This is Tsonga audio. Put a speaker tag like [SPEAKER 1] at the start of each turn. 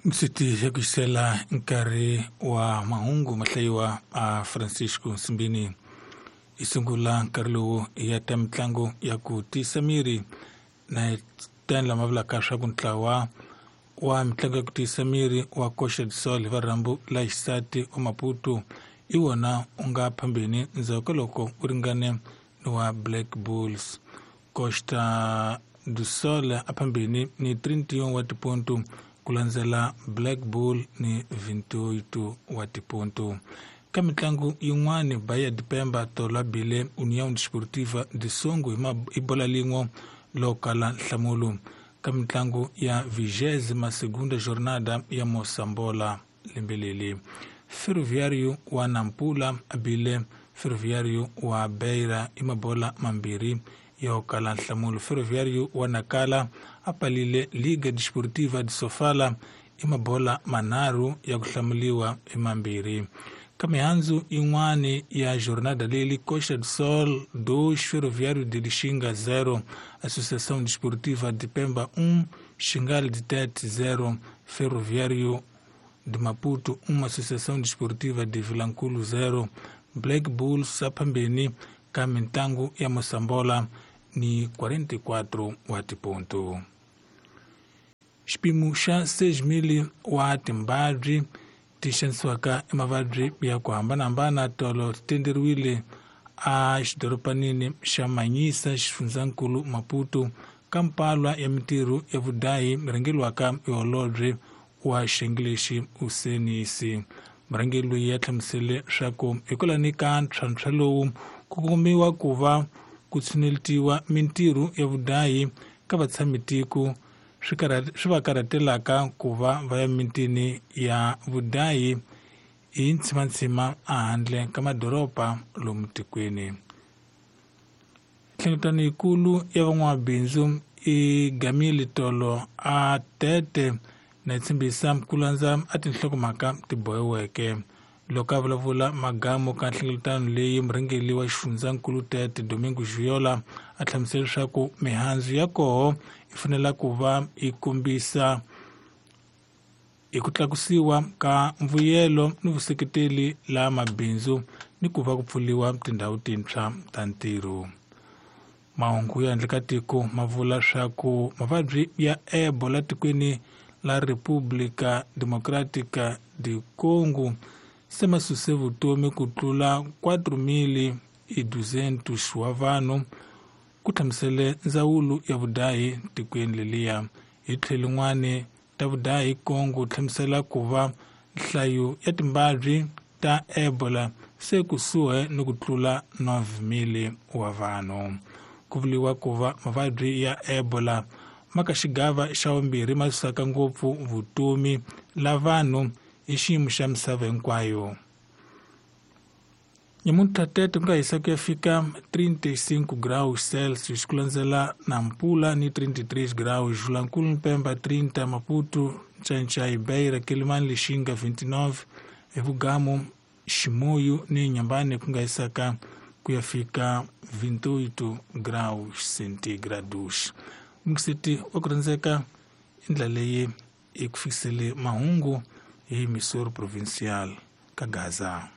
[SPEAKER 1] Msiti ya kuxisela nkarhi wa mahungu mahlayiwa a Francisco Nsimbini. Hi sungula nkarhi lowu ya ta mitlangu ya ku tiyisa miri na tani lama vulaka swa ku ntlawa wa mitlangu ya ku tiyisa miri wa Costa do Sol hi varhambu la xisati wa Maputo i wona u nga phambeni ndzhaku ka loko u ringane ni wa Black Bulls. Costa do Sol a phambeni ni 31 wa tiponto ku landzela Black Bull ni 28 wa tiponto. Ka mitlangu yin'wani Bahia de Pemba tolo a bile União Desportiva de Songo hi bola lin'we lo kala nhlamulo. Ka mitlangu ya 22ª jornada ya Mosambola lembe leri, Ferroviário wa Nampula a bile Ferroviário wa Beira hi mabola mambirhi yo kala nhlamulo. Ferroviário wa Nacala a palile Liga Desportiva de Sofala i mabola manharhu ya ku hlamuliwa hi mambirhi. Ka mihandzu yin'wani ya jornada leyi, Costa do Sol 2, Ferroviário de Lixinga 0, Associação Desportiva de Pemba 1, Xingal de Tete 0, Ferroviário de Maputo 1, Associação Desportiva de Vilankulo 0, Black Bulls a phambeni ka mitlangu ya Mosambola ni 44 wa tiponto. Xipimo xa 6,000 wa timbabyi ti xanisiwaka i mavabyi ya ku hambanahambana tolo ti tenderiwile a xidoropanini xa Manyisa xifundzankulu Maputo ka mpalwa ya mintirho ya vudahi rhangeriwaka hi holobye wa xiyenge lexi Usenisi. Murhangeri loyi ya hlamusele swa ku hikwalani ka ntlhantlha lowu ku kumiwa ku va ku tshunetiwa mintirho ya vudahi ka vatshamitiko swi va karhatelaka ku va va ya mitini ya vudahi hi ntshimantsima ehandle ka madoroba lomu tikweni. Nhlengeletano yikulu ya van'wamabindzu i gamile tolo a Tete na yi tshembisa ku landza a tinhlokomhaka ti bohiweke. Loko a vulavula magamu ka nhlengeletano leyi, murhangeri wa xifundzankulu Tete Domingo Giola a hlamusela leswaku mihandzu ya koho yi fanele ku va yi kombisa hi ku tlakusiwa ka mbuyelo ni vuseketeli la mabindzu ni ku va ku pfuriwa tindhawu tintshwa ta ntirho. Mahungu ya handle ka tiko ma vula swa ku mavabyi ya Ebola tikweni la República Democrática de Congo se ma suse vutomi ku tlula 4,200 wa vanhu, ku hlamusele ndzawulo ya vudahi tikweni leliya. Hi tlhelo lin'wani ta vudahi Congo hlamusela ku va nhlayo ya timbabyi ta Ebola se kusuhi ni ku tlula 9,000 wa vanhu. Ku vuriwa ku va mavabyi ya Ebola ma ka xigava xa vumbirhi ma susaka ngopfu vutomi la vanhu hi xiyimo xa misava hinkwayo. Nyamuntlha Tete ku nga hisa ku ya fika 35 graus Celsius ku landzela Nampula ni 33 graus, Vilankulu Pemba 30, Maputo, Ncancai, Beira, Quelimane, Lixinga 29, Evugamu, Chimoio ni Inhambane ku nga hisaka ku ya fika 28 graus centigrados. Mukisiti wa ku rhandzeka i ndlela leyi hi ku fikisele mahungu hi Missouri Provincial ka Gaza.